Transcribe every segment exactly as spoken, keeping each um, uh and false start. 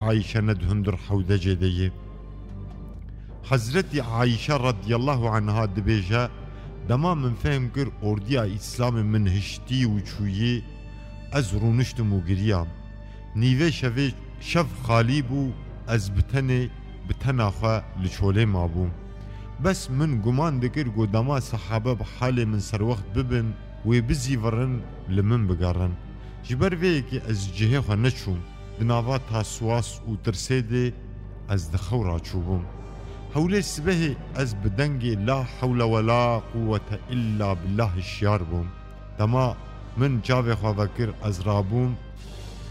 Ayşe ne di hundir hewdecê de ye. Hezretî Ayşe radiyallahu anha dibêje, dema min fehm kir ordiya Îslamê min hiştî û çûyî, ez rûniştim û giriyam. Nîvê şevê şev xalî bû, ez bi tenê, bi tena xwe li çolê mabûm. Bes min guman dikir ku dema sehabe bi halê min serwext bibin, wê bizîvirin, li min bigerin. Ji ber vê yekê ez ji cihê xwe neçûm. Di nava taswas û tirsê de ez di xew ra çûbûm. Hewlê sibehê ez bi dengê la hewle we la quwwete illa billah hişyar bûm. Dema min çavê xwe vekir, ez rabûm,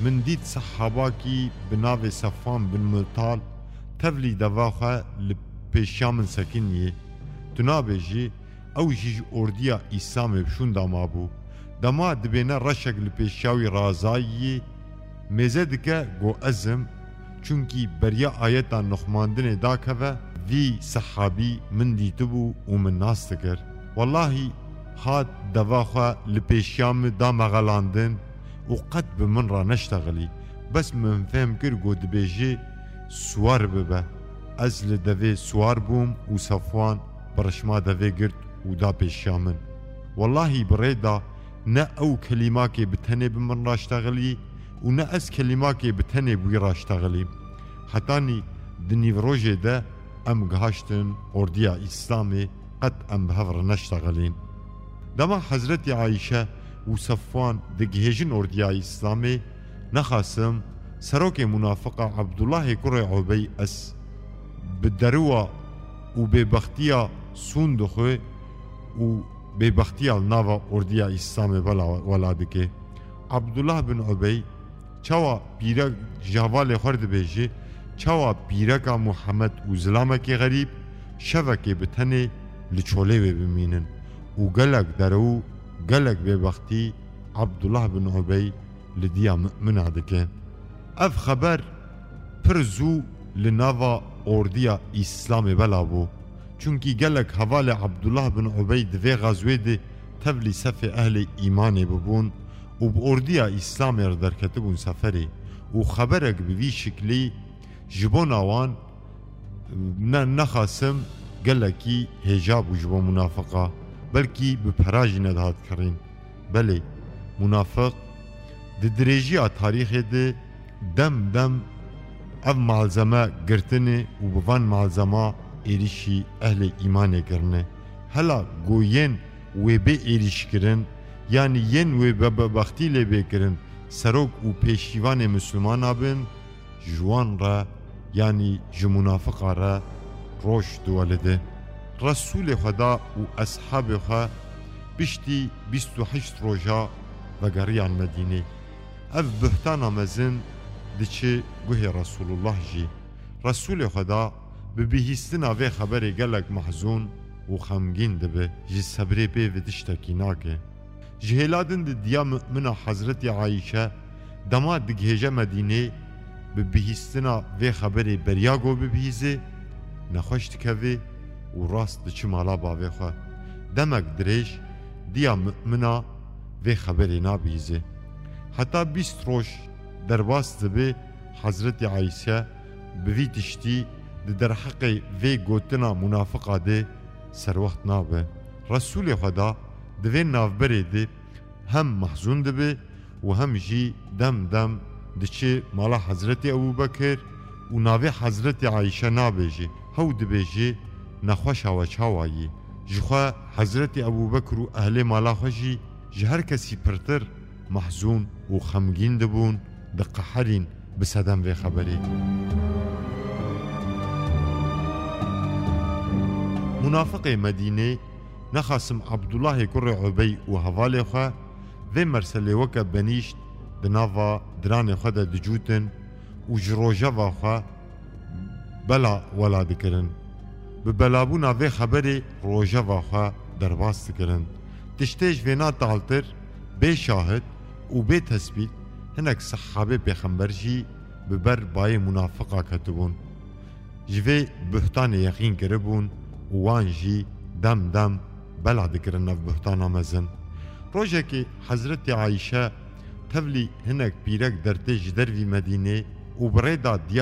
min dît sehabakî bi navê Sefwan bin Mutal tevlî deva xwe li pêşiya min sekiniyê. Tu nabêjî, ew jî ji ordiya Îslamê bi şûnda mabû. Dema dibêne reşek li pêşiya wî razayî, mêze dike go ez im, çunkî beriya ayeta nixumandinê dakeve, vî sehabî min dîtibû û min nas dikir. Wellahî hat deva xwe li pêşiya min da mexelandin û qet bi min re neştexilî. Bes min fehm kir ku dibêjî, siwar bibe. Ez li devê siwar bûm û Sefwan bi rişma devê girt û da pêşiya min. Wellahî bi rê da ne ew kelîmakê bi tenê bi min raştexilî û ne ez kelîmakê bi tenê bi wî raştexilîm. Hetanî di nîvrojê de em gihaştin ordiya Îslamê, qet em bi hev re neştexilîn. Dema Hezretî Ayşe û Sefwan digihêjin ordiya Îslamê, nexasim serokê munafiqa Abdullahê kurê Ubey es bi deriwa û bêbextiya sûn dixwe û bêbextiya li nava ordiya Îslamê bela wela dike. Abdullah bin Ubey çawa pîrek ji hevalê xwe re dibêje, çawa pîreka Muhammed û zilamekê xerîb şevekê bi tenê li çolê wê bimînin û gelek derew û gelek bêbextî Abdullah bin Ubey li diya mumina dike. Ev xeber pir zû li nava ordiya Îslamê bela bû. Çunkî gelek hevalê Abdullah bin Ubey di vê xezwê de tevlî sefê ehlê îmanê bibûn û bi ordiya Îslamê re derketibûn seferê û xeberek bi vî şiklî ji bona wan ne, nexasim gelekî hêja bû ji bo munafiqa, belkî bi pera jî nedihat kirîn. Belê, munafiq di dirêjiya tarîxê de dem dem ev malzeme girtine û bi van malzema êrîşî ehlê îmanê kirine. Hela go yên wê bê êrîşkirin, yanî yên wê be-, bebextî lê bê kirin, serok û pêşîvanê Mislimana bin, ji wan re, yanî ji munafiqa re roj diwelide. Resûlê Xweda û eshabê xwe piştî bîst û heşt roja vegeriyan Medînê. Ev buhtana mezin diçi guhê Resûlullah jî. Resûlê Xweda bi bihîstina vê xeberê gelek mehzûn û xemgîn dibe. Ji sebrê pê ve tiştekî nake. Ji hêla din di diya mumina Hezretî Ayşe dema digihêje Medînê, bi bihîstina vê xeberê beriya go bibihîze, nexweş dikeve û rast diçi mala bavê xwe. Demek dirêj diya mumina vê xeberê nabihîze. Heta bîst roj derbas dibe, Hezretî Ayşe bi vî tiştî di derheqê vê gotina munafiqa de serwext nabe. Resûlê Xweda di vê navberê de hem mehzûn dibe û hem jî dem dem diçe mala Hezretî Ebûbekir û navê Hezretî Ayşe nabêje. Hew dibêje, nexweşa we çawa yî? Ji xwe Hezretî Ebûbekir û ehlê mala xwe jî ji her kesî pirtir mehzûn û xemgîn dibûn, diqeherîn bi sedem vê xeberê. Munafiqê Medînê, nexasim Abdullahê kurê Ubey û hevalê xwe, vê merselê weke benîşt di nava diranê xwe de dicûtin û ji rojeva xwe bela wela dikirin. Bi belabûna vê xeberê rojeva xwe derbas dikirin. Tiştê ji vêna taltir bê şahid û bê tesbît hinek sehabê pêxember jî bi ber bayê munafiqa ketibûn. Ji vê buhtanê yexîn kiribûn û wan jî dem dem bela dikirin ev buhtana mezin. Rojekê Hezretî Ayşe tevlî hinek pîrek dertê ji dervî Medînê, û bi rê da diya